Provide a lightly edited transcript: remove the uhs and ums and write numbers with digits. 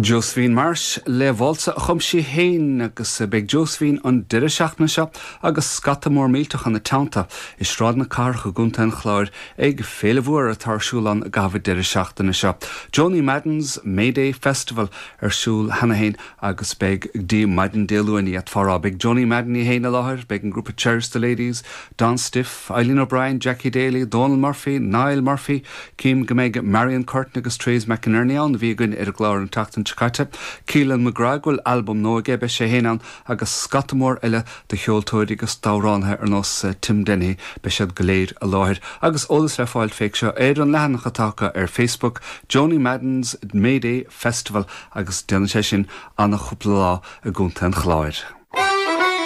Josephine Marsh le válsa a chum sí féin agus beidh Josephine an deireadh seachtaine seo agus scata mór millteach ina teannta i Sráid na Cathrach i gContae an Chláir ag féile mhór atá ar siúl ann i gcaitheamh an deireadh seachtaine seo. Joanie Madden's May Day Festival ar siúl cheana féin agus beidh go dtí maidin Dé Luain, d'fhéadfá a rá. Beidh Joanie Madden í féin i láthair, beidh an grúpa Cherish the Ladies, Don Stiffe, Eileen O'Brien, Jackie Daly, Dónal Murphy, Niall Murphy, Cím go mbeidh Marion Curtin agus Therese McInerney ann, a bhí againn ar an gclár an tseachtain seo caite, Keelan McGrath, go bhfuil albam nua aige, beidh sé féin ann, agus scata mór eile de cheoltóirí agus d'amhránaithe ar nós Tim Dennehy, beidh siad go léir i láthair. Agus eolas le fáil féach seo ar an leathanach atá acu ar Facebook, Joanie Madden's May Day Festival, agus déanann sé sin ana-chúpla lá i gContae an Chláir.